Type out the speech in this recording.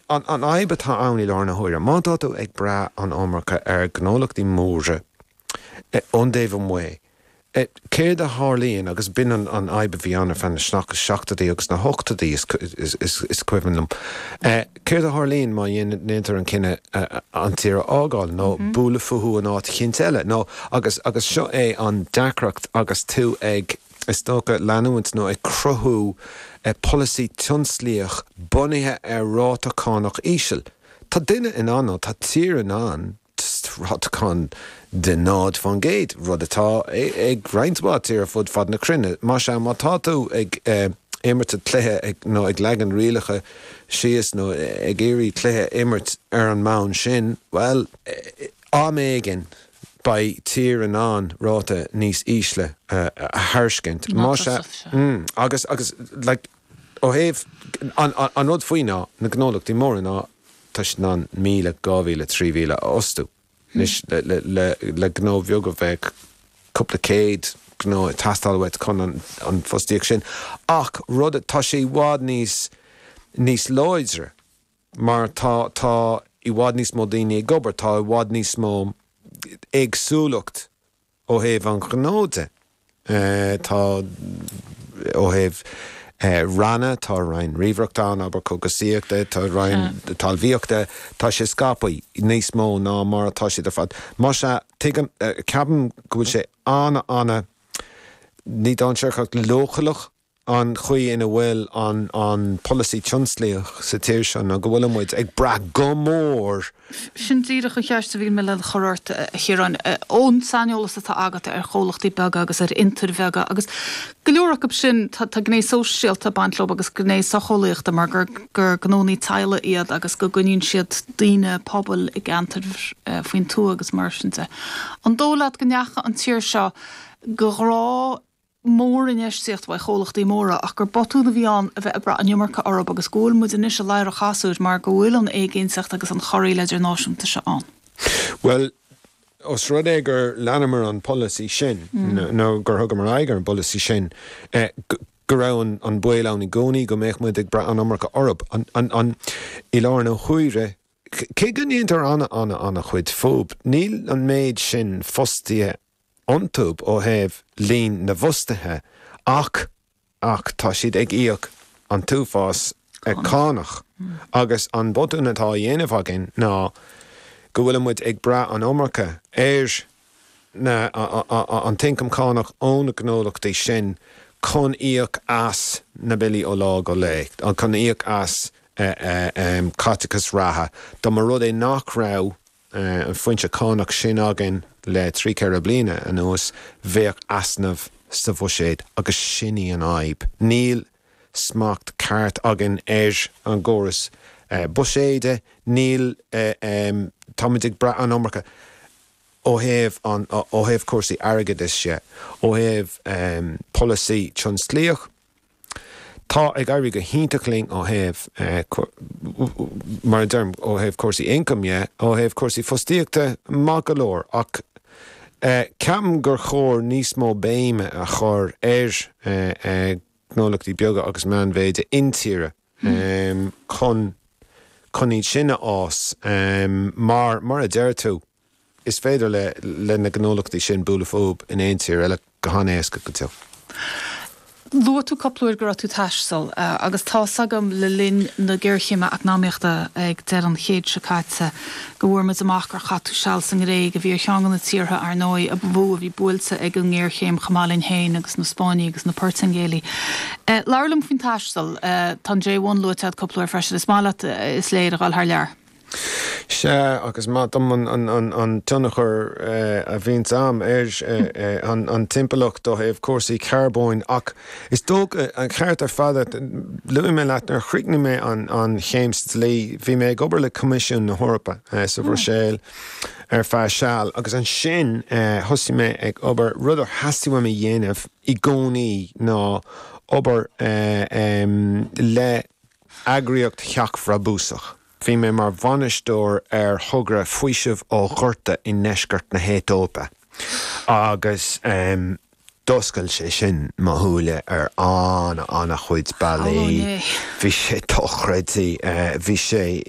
An fhadhb atá ann i láthair na huaire, má tá tú ag brath an iomarca ar ghnólachtaí móra ón dtaobh amuigh, céard a tharlaíonn, agus b'in an fhadhb a bhí ann ar feadh na seachtóidí agus na hochtóidí, is cuimhin liom, céard a tharlaíonn má dhéantar an cinneadh an tír a fhágáil nó bualadh fúthu in áit eicínt eile nó, agus seo é an deacracht agus tú ag. is dócha, leanúint nó ag cruthú polasaí tionsclaíoch bunaithe ar ráta cánach íseal. Tá duine in ann, nó tá tír in ann, ráta cáin de 0%, rud atá ag roinnt mhaith tír ar fud fad na cruinne. Más ea, má tá tú ag imirt an cluiche nó ag leagan rialacha síos nó ag iarraidh cluiche a imirt ar an mbonn sin, bhuel, am éigin, beidh tír in ann ráta níos ísle a thairiscint. Más ea, agus, agus, like, ó thaobh, an, an rud faoi ná, na gnólachtaí móra ná, tá siad in ann 1,000, 2,000, 3,000 a fhostú. Anois, le, le, le, le gnó bheag a bheadh cúpla céad gnó ag teastáil uait chun an, an fostaíocht sin. Ach rud, tá sé i bhfad níos, níos láidre. Mar tá, tá i bhfad níos mó daoine ag obair, tá i bhfad níos mó éagsúlacht ó thaobh an ghnó de. Tá, ó thaobh ranna, tá roinn ríomhaireachta ann, abair cógaisíochta, tá roinn talmhaíochta, tá sé scaipthe níos mó ná mar atá siad ar fad. Más ea, tuigim, ceapaim go bhfuil sé ana, ana, ní dainséarach ach leochaileach An chaoi ina bhfuil an polasaí tionsclaíoch sa tír seo ná go bhfuil muid ag brath go mór. Sin díreach an cheist a bhí mé le cur ort, a Chiaráin. Ón saineolas atá agat ar chomhlachtaí beaga agus ar fhiontair bheaga, agus go leor acu sin, tá gné sóisialta ag baint leo agus gné socheolaíochta mar gur gur gnónnaí teaghlaigh iad agus go gcoinníonn siad daoine, pobail i gceantair faoin tuath agus mar sin de. An dóigh leat go ndeachaigh an tír seo de ghrá mórinfheistíocht uaidh chomhlachtaí móra ach gur botún a bhí ann a bheith ag brath an iomarca orthu agus go bhfuil muid anois i ladhar an chasúir mar go bhfuil an éiginnteacht agus an chorraíl idirnáisiúnta seo ann. Bhuel, os rud é gur leanamar an polasaí sin, nó gur thugamar aghaidh ar an bpolasaí sin, go raibh an baol ann i gcónaí go mbeadh muid ag brath an iomarca orthu. I láthair na huaire, cé go ndéantar ana-ana-ana-chuid fúb, níl an méid sin fostaithe iontu ó thaobh líon na bhfostaithe ach ach tá siad ag íoc an t-uafás cánach agus an botún atá á dhéanamh againn ná go bhfuil muid ag brath an iomarca ar na an t-ioncam cánach ó na gnólachtaí sin chun íoc as na billí ó lá go lá, chun íoc as caiteachas reatha. Dá mba rud é nach raibh an foinse cánach sin againn le 3, 4 bliana anuas, bheadh easnamh sa bhuiséad agus sin í an fhadhb. Níl smacht ceart againn ar an gcóras buiséide, níl, táimid ag brath an iomarca ó thaobh an, ó thaobh cúrsaí airgeadais de, ó thaobh polasaí tionsclaíoch. Tá ag éirí go hiontach linn ó thaobh, mar a deirim, ó thaobh cúrsaí ioncaim dhe, ó thaobh cúrsaí fostaíochta, maith go leor, ach ceapaim gur chóir níos mó béime a chur ar ghnólachtaí beaga agus meánmhéide intíre chun chun iad sin a fhás mar, mar a deir tú, Is féidir le na gnólachtaí sin bualadh fúb in aon tír eile go han-éasca go deo. Luaigh tú cúpla uair go raibh tú ag taisteal agus tá's agam le linn na géarchéime eacnamaíochta ag deireadh an chéid seo caite go bhfuair muid amach gur chaith tú seal sa nGréig, a bhí ar cheann de na tíortha, ar ndóigh, a ba mhó a bhí buailte ag an ngéarchéim chomh maith linn féin agus na Spáinnigh agus na Portaingéalaigh. Labhair liom faoin taisteal. Tá an J1 luaite agat cúpla uair freisin. Is maith leat, is léir, a dhul thar lear. Sea, agus is maith dom an tionchar a bhíonns a'm ar an timpeallacht ó thaobh cúrsaí carbóin ach is dócha, an ceart ar fad agat, luaigh mé leat nuair a chríochnaigh mé an chéim sa dlí, bhí mé ag obair le Coimisiún na hEorpa sa Bhruiséil ar feadh seal agus ansin thosaigh mé ag obair, rud ar theastaigh uaim a dhéanamh i gcónaí ná obair le eagraíocht sheachbhrabúsach. Bhí mé mar bhainisteoir ar thogra Faoiseamh ó Ghorta i ndeisceart na hAetóipe agus d'oscail sé sin mo shúile ar an-an-chuid bealaí. Bhí sé dochreidte. Bhí sé.